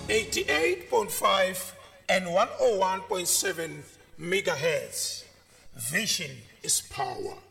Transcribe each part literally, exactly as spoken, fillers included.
eighty-eight point five and one oh one point seven megahertz. Vision is power.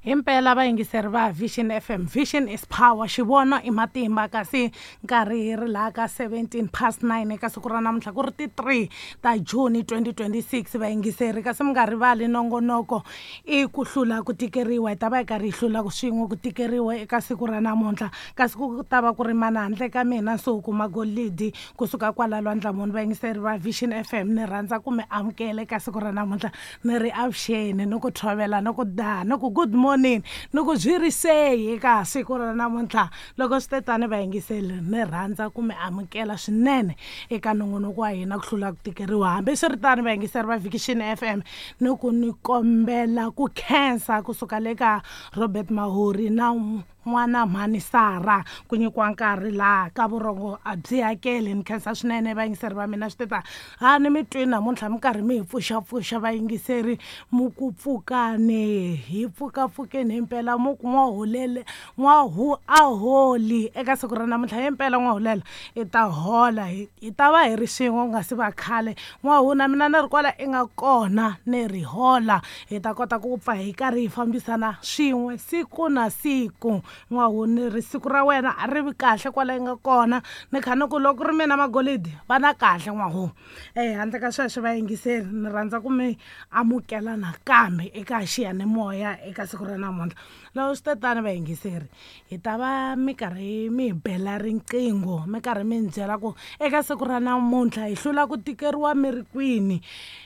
Himpela vayingiseri va Vision F M, Vision is power, xivono i matimba. Kasi nkarhi hi ri laha ka seventeen past nine eka siku ra namuntlha ku ri ti three ta June twenty twenty-six vayingiseri. Kasi mi nga rivali nongonoko i ku hlula ku tikeriwa, hi ta va hi karhi hi hlula swin'we ku tikeriwa eka siku ra namuntlha. Kasi ku ta va ku ri mana handle ka mina Nsuku Magolidi kusuka kwala Lwandlamuni. Vayingiseri va Vision F M, ni rhandza ku mi amukela eka siku ra namuntlha, ni ri avuxeni, ni ku tshovela, ni ku da, ni ku good morning, ni ku byi ri seyi eka siku ra namuntlha. Loko swi te tani vayingiseli, ni rhandza ku mi amukela swinene eka nongonoko wa hina ku hlula ku tikeriwa. Hambiswiritano vayingiseri va Vision F M, ni ku ni kombela ku khensa kusuka le ka Robert Mahori na n'wana mhani Sara ku nyikiwa nkarhi laha ka vurhongo a byi hakeli. Ni khensa swinene vayingiseri va mina. Swi te ta ha ni mi twi namuntlha mi karhi mi hi pfuxapfuxa vayingiseri, mu ku pfukani hi pfukapfukeni himpela, mu ku n'waholele n'wahu a holi eka siku ra namuntlha. Himpela n'waholela i ta hola, hi ta va hi ri swin'we ku nga si va khale. N'wahu na mina ni ri kwala i nga kona ni ri hola, hi ta kota ku pfa hi karhi hi fambisana swin'we siku na siku. N'wahu ni ri siku ra wena a ri vi kahle kwala yi nga kona, ni kha ni ku loko ri mina Magolidi va na kahle n'wahu. Eh handle ka sweswo vayingiseri, ni rhandza ku mi amukela nakambe eka xiyanimoya eka siku ra namuntlha. Loko swi te tani vayingiseri, hi ta va mi karhi mi hi bela riqingho, mi karhi mi ni byela ku eka siku ra namuntlha hi hlula ku tikeriwa mi ri kwini,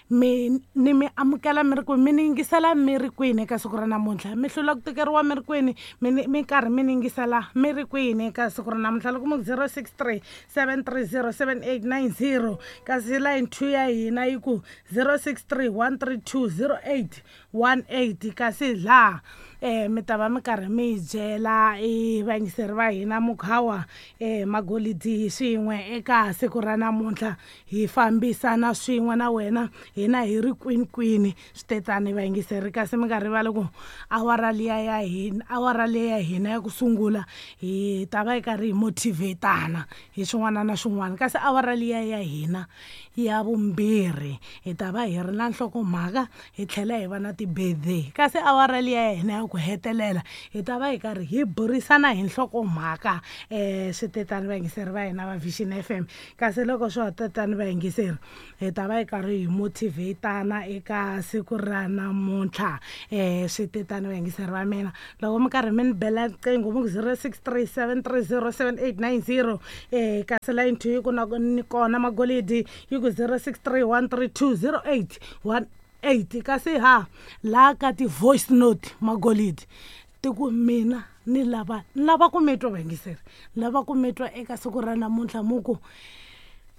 mi ni mi amukela mi ri kwini, mi ni yingisela mi ri kwini eka siku ra namuntlha, mi hlula ku tikeriwa mi ri kwini, mi ni mi karhi mi ni yingisela mi ri kwini eka siku ra namuntlha. Loko mu zero six three seven three zero seven eight nine zero, kasi line two ya hina yi ku zero six three one three two zero eight one eight. Kasi laha eh mi ta va mi karhi mi hi byela i vayingiseri va hina mukhawa eh Magolidi swin'we eka siku ra namuntlha, hi fambisana swin'we na wena hina hi ri kwini kwini. Swi te tani vayingiseri, kasi mi nga rivali ku awara liya ya hina, awara liya ya hina ya ku sungula hi ta va hi karhi hi motivatana hi swin'wana na swin'wana. Kasi awara liya ya hina ya vumbirhi hi ta va hi ri na nhlokomhaka, hi tlhela hi va na ti-birthday. Kasi awara liya ya hina ya ku hetelela hi ta va hi karhi hi burisana hi nhlokomhaka. Eh swi te tani vayingiseri va hina va Vision F M. Kasi loko swi te tani vayingiseri, hi ta va hi karhi hi motivatana eka siku ra namuntlha. Eh swi te tani vayingiseri va mina, loko mi karhi mi ni bela riqingho mu ku zero six three seven three zero seven eight nine zero, eh kasi line two yi ku na ni kona Magolidi yi ku zero six three one three two zero eight one eight. Kasi ha laha ka ti-voice note Magolidi ti ku mina ni lava ni lava ku mi twa vayingiseri, ni lava ku mi twa eka siku ra namuntlha. Mu ku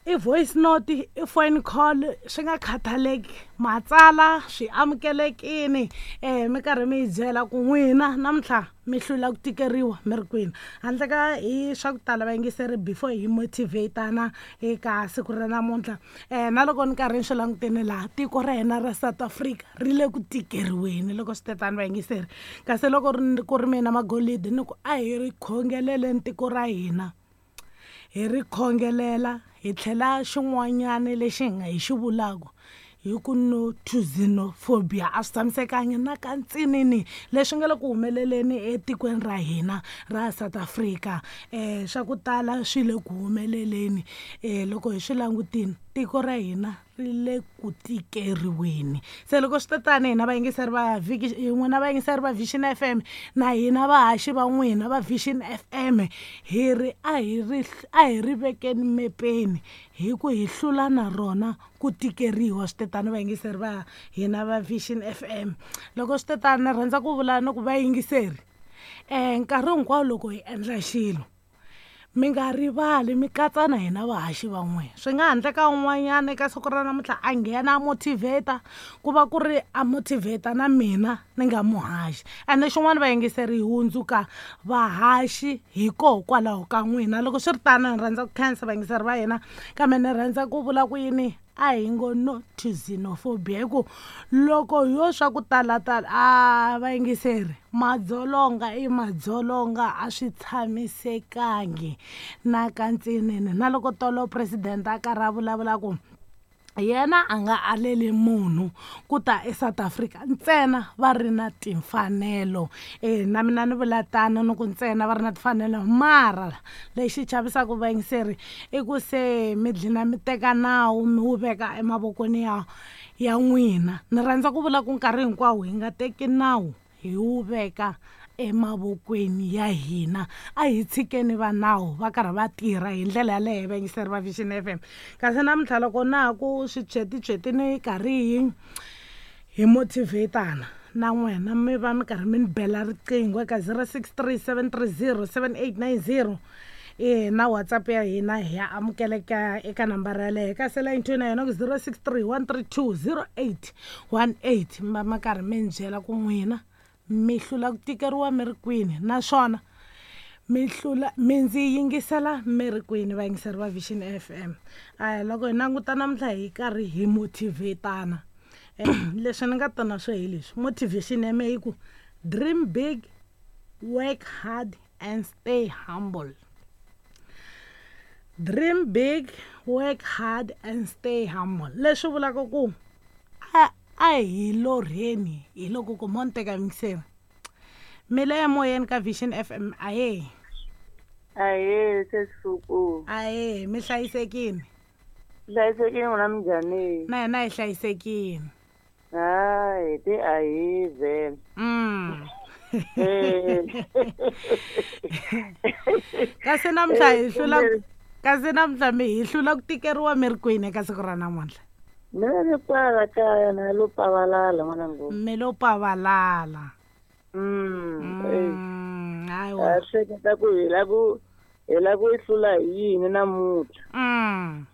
i voice note, i phone call, swi nga khathaleki, matsala swi amukelekini. Eh mi karhi mi hi byela ku n'wina namuntlha mi hlula ku tikeriwa mi ri kwini. Handle ka hi swa ku tala vayingiseri, before hi motivatana eka siku ra namuntlha, eh na loko ni karhi ni swi langutene laha tiko ra hina ra South Africa ri le ku tikeriweni loko swi te tani vayingiseri. Kasi loko ku ri mina Magolidi ni ku a hi ri khongeleleni tiko ra hina, hi ri khongelela hi tlhela xin'wanyana lexi hi nga hi xi vulaka hi ku no to xenophobia a swi tshamisekangi na ka ntsinini leswi nga le ku humeleleni etikweni ra hina ra South Africa. Eh swa ku tala swi le ku humeleleni, eh loko hi swi langutini tiko ra hina ri le ku tikeriweni. Se loko swi te tani hina vayingiseri va vhiki n'wina vayingiseri va Vision F M na hina vahaxi va n'wina va Vision F M, hi ri a hi ri a hi ri vekeni mepeni hi ku hi hlula na rona ku tikeriwa. Swi te tani vayingiseri va hina va Vision F M. Loko swi te tani ni rhandza ku vula ni ku vayingiseri, eh nkarhi hinkwawo loko hi endla xilo mi nga rivali mi katsa na hina vahaxi va n'wina. Swi nga handle ka un'wanyana eka siku ra namuntlha a nghena a motivate, ku va ku ri a motivate na mina ni nga muhaxi. Ene xin'wana vayingiseri, hi hundzuka vahaxi hikokwalaho ka n'wina. Loko swi ri tano ni rhandza ku khensa vayingiseri va hina, kambe ni rhandza ku vula ku yini, A hi ngo no to xenophobia hi ku loko yo swa ku talatala a vayingiseri madzolonga i madzolonga a swi tshamisekangi na kantsinini. Na loko tolo president a karhi a vulavula ku yena a nga aleli munhu ku ta eSouth Africa ntsena va ri na timfanelo. E na mina ni vula tano ni ku ntsena va ri na timfanelo, mara lexi chavisaka vayingiseri i ku se mi dlina mi teka nawu mi wu veka emavokweni ya ya n'wina. Ni rhandza ku vula ku nkarhi hinkwawo hi nga teki nawu hi wu veka emavokweni ya hina, a hi tshikeni va nawu va karhi va tirha hi ndlela yaleyo vayingiseri va Vision F M. Kasi namuntlha loko na ha ku switshwetitshweti ni karhi hi hi motivatana na n'wina mi va mi karhi mi ni bela riqingho eka zero six three seven three zero seven eight nine zero. E na WhatsApp ya hina hi ya amukeleka eka nambara yaleyo. Kasi line two na yona ku zero six three one three two zero eight one eight. Mi va mi karhi mi ni byela ku n'wina mi hlula ku tikeriwa mi ri kwini, naswona mi hlula mi ndzi yingisela mi ri kwini vayingiseri va Vision F M. A loko hi languta namuntlha hi karhi hi motivatana, leswi ni nga ta na swo hi leswi motivation ya mehe yi ku dream big, work hard and stay humble. Dream big, work hard and stay humble. Leswi vulaka ku a a hi lorheni hi loko ku mo ni teka yingiseri mi le emoyeni ka Vision F M. Ahe ahe sesisuku ahe mi hlayisekile? Hlayisekile n'wina minjhani? Na hina hi hlayisekile. Hayi ti ahi vhele. Mm. Kasi namuntlha hi hlula kasi namuntlha mi hi hlula ku tikeriwa mi ri kwini eka siku ra namuntlha? Mina ni kwala kaya na lo pavalala n'wanangu. Mi lo pavalala. Mm. Hayiwa. A hleketa ku hi la ku hi la ku yi hlula hi yini namuntlha. Mm.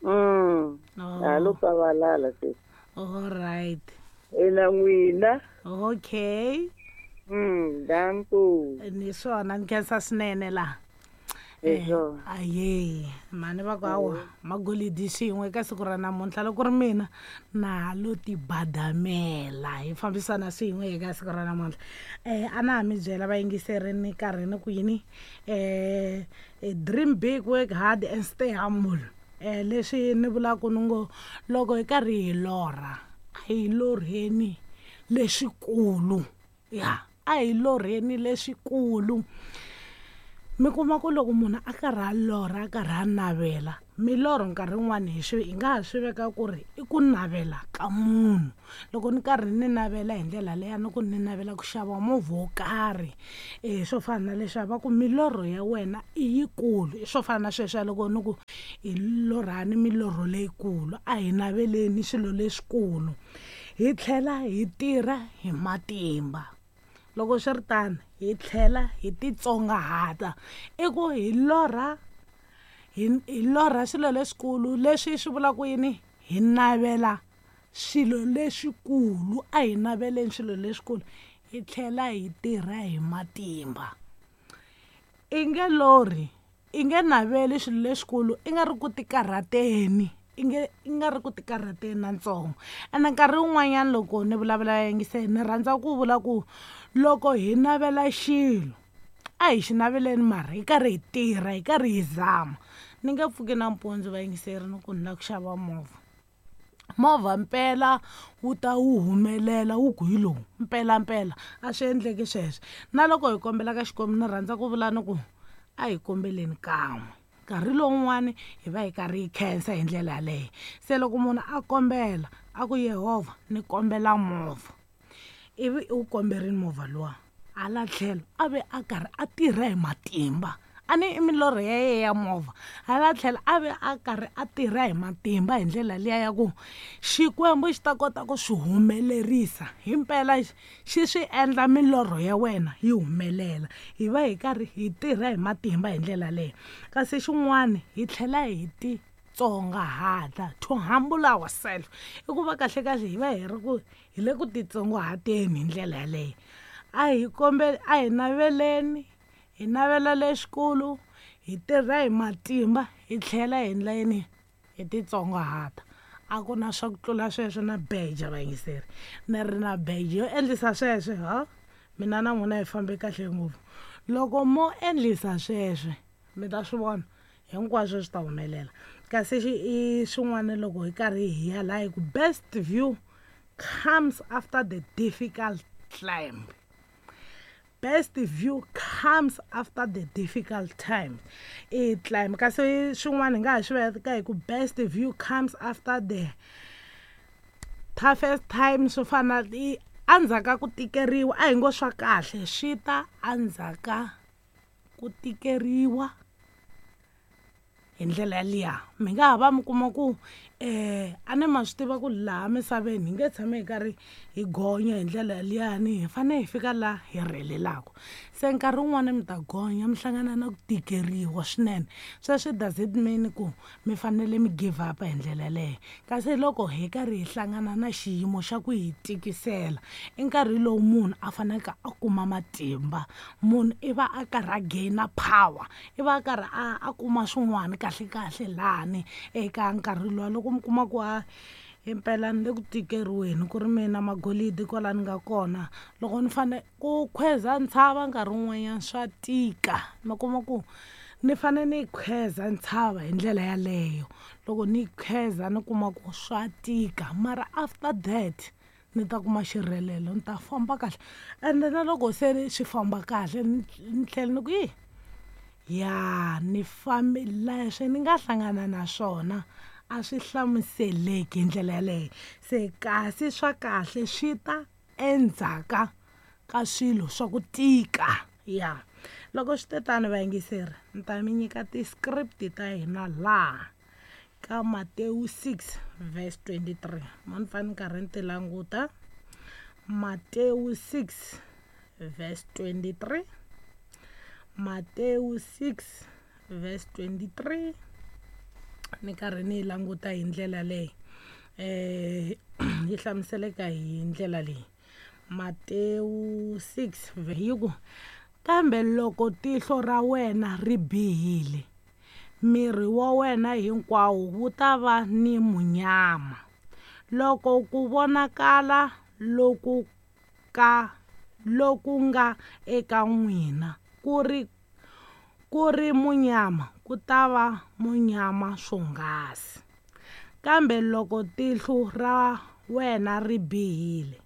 Mm. A lo pavalala se. All right. Ina n'wina. Okay. Mm, danko. Ni swona ni khensa swinene laha. Aye mhani va ku hawa magolidi xin'we eka siku ra namuntlha loko ri mina na ha lo tibadamela hi fambisana swin'we eka siku ra namuntlha. um a na ha mi byela vayingiseri ni karhi ni ku yini um dream big, work hard and stay humble. Um leswi ni vulaka ni ngo loko hi karhi hi lorha a hi lorheni leswikulu, ya a hi lorheni leswikulu. Mi kuma ku loko munhu a karhi a lorha a karhi a navela milorho nkarhi wun'wani hi swi hi nga ha swi veka ku ri i ku navela ka munhu. Loko ni karhi ni navela hi ndlela leya ni ku ni navela ku xava movha wo karhi, e swo fana na leswiya va ku milorho ya wena i yikulu. I swo fana na sweswiya loko ni ku hi lorhani milorho leyikulu, a hi naveleni swilo leswikulu hi tlhela hi tirha hi matimba. Loko swi ri tano hi tlhela hi titsongahata, i ku hi lorha hi hi lorha swilo leswikulu. Leswi swi vulaka yini? Hi navela swilo leswikulu, a hi naveleni swilo leswikulu hi tlhela hi tirha hi matimba. I nge lorhi, i nge naveli swilo leswikulu i nga ri ku tikarhateni, i nge i nga ri ku tikarhateni na ntsongo. Ene nkarhi wun'wanyana loko ni vulavula yingiseni ni rhandza ku vula ku loko hi navela xilo a hi xi naveleni mara hi karhi hi tirha hi karhi hi zama. Ni nge pfuki nampundzu vayingiseri ni ku ni lava ku xava movha, movha mpela wu ta wu humelela wu ku hi lowu mpela mpela a swi endleki sweswo. Na loko hi kombela ka Xikwembu ni rhandza ku vula ni ku a hi kombeleni kan'we, nkarhi lowun'wani hi va hi karhi hi khensa hi ndlela yaleyo. Se loko munhu a kombela a ku Yehovha ni kombela movha, ivi u komberile movha luwa hala tlhelo a ve a karhi a tirha hi matimba, a ni i milorho ya yena ya movha, hala tlhelo a ve a karhi a tirha hi matimba hi ndlela liya ya ku Xikwembu xi ta kota ku swi humelerisa himpela xi swi endla milorho ya wena yi humelela. Hi va hi karhi hi tirha hi matimba hi ndlela leyo. Kasi xin'wana hi tlhela hi titsongahata, to humble ourselves, i ku va kahle kahle hi va hi ri ku hi le ku titsongahateni hi ndlela yaleyo. A hi kombeli a hi naveleni hi navela leswikulu hi tirha hi matimba hi tlhela hi endla yini hi titsongahata. A ku na swa ku tlula sweswo na beja vayingiseri, ni ri na beja yo endlisa sweswo ha mina na n'wina hi fambe kahle ngopfu. Loko mo endlisa sweswo mi ta swi vona hinkwaswo swi ta humelela. Kasi xi i swin'wana loko hi karhi hi ya laha hi ku best view comes after the difficult climb. Best view comes after the difficult time i climb. Kasi swin'wana hi nga ha swi veka hi ku best view comes after the toughest time, swo fana i endzhaku ka ku tikeriwa. A hi ngo swa kahle swi ta endzhaku ku tikeriwa hi ndlela yaliya. Mi nga ha va mi kuma ku um a ni ma swi tiva ku laha misaveni hi nge tshami hi karhi hi gonya hi ndlela yaliyani, hi fanele hi fika laha hi rhelelaka. Se nkarhi wun'wani mi ta gonya mi hlangana na ku tikeriwa swinene, sweswo does it mean ku mi fanele mi give up hi ndlela yaleyo. Kasi loko hi karhi hi hlangana na xiyimo xa ku hi tikisela, i nkarhi lowu munhu a faneleke a kuma matimba, munhu i va a karhi a gain power, i va a karhi a a kuma swin'wana kahle kahle lani eka nkarhi luwa. Loko mi kuma ku a impela ni le ku tikeriweni ku ri mina magolidi kwala ni nga kona, loko ni fane ku khweza ntshava nkarhi wun'wanyana swa tika, mi kuma ku ni fane ni khweza ntshava hi ndlela yaleyo. Loko ni khweza ni kuma ku swa tika, mara after that ni ta kuma xirhelelo, ni ta famba kahle. Ende na loko se swi famba kahle ni tlhela ni ku yi ya ni fambi leswi ni nga hlangana na swona a swi hlamuseleki hi ndlela yaleyo. Se kasi swa kahle swi ta endzhaka ka swilo swa ku tika. Ya loko swi te tano vayingiseri, ni ta mi nyika ti-script ta hina laha ka Matewu six verse twenty-three. Mo ni fane ni karhi ni ti languta. Matewu six verse twenty-three, Matewu six verse twenty-three, ni karhi ni yi languta hi ndlela leyi eh yi hlamuseleka hi ndlela leyi. Matewu six yi ku, kambe loko tihlo ra wena ri bihile, miri wa wena hinkwawo wu ta va ni munyama. Loko ku vonakala loku ka loku nga eka n'wina ku ri ku ri munyama, ku ta va munyama swonghasi. Kambe loko tihlo ra wena ri bihile,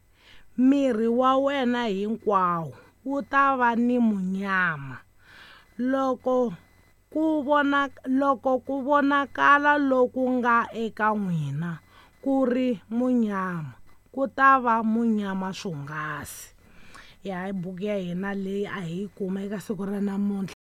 miri wa wena hinkwawo wu ta va ni munyama. Loko ku vona loko ku vonakala loku nga eka n'wina ku ri munyama, ku ta va munyama swonghasi. Ya hi buku ya hina leyi a hi yi kuma eka siku ra namuntlha.